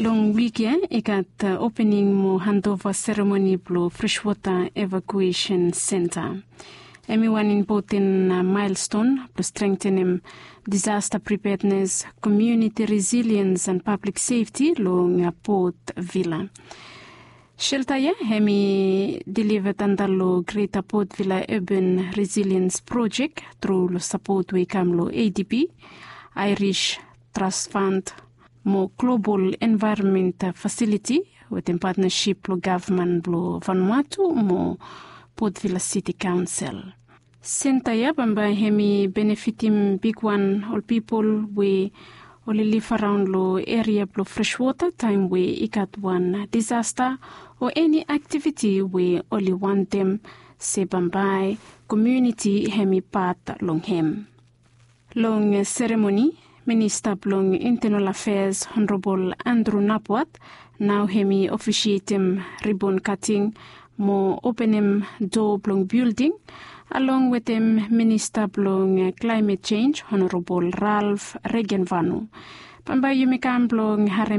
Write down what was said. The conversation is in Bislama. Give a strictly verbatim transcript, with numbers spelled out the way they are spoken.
Long wik ya i gat opening mo handova seremoni blong freshwota evakuesen senta. Em i wan impoten maelston blong strengtenem disasta pripednes, komiuniti resiliens an pablik sefti long pot vila. Shelta ya em i diliva tanda long greta pot vila urban resiliens projek tru long sapot we i kam long adp, irish trust fund, mo global envaeronment fasiliti wetem patnasip blong gavman blong vanuatu mo potvila siti kaonsel. Senta ya bambae hem i benefitim bigwan ol pipol we oli liv araon long eria blong freswota taem we i gat wan disasta o eni aktiviti we oli wantem se bambae komiuniti hem i pat long hem. Long seremoni, minista blong intenal afeas honorabol andru napwat nao hem i ofisietem ribon kating mo openem doa blong bilding along wetem minista blong klaemet jenj honorabol ralf regenvanu. Bambae yumi kam blong harem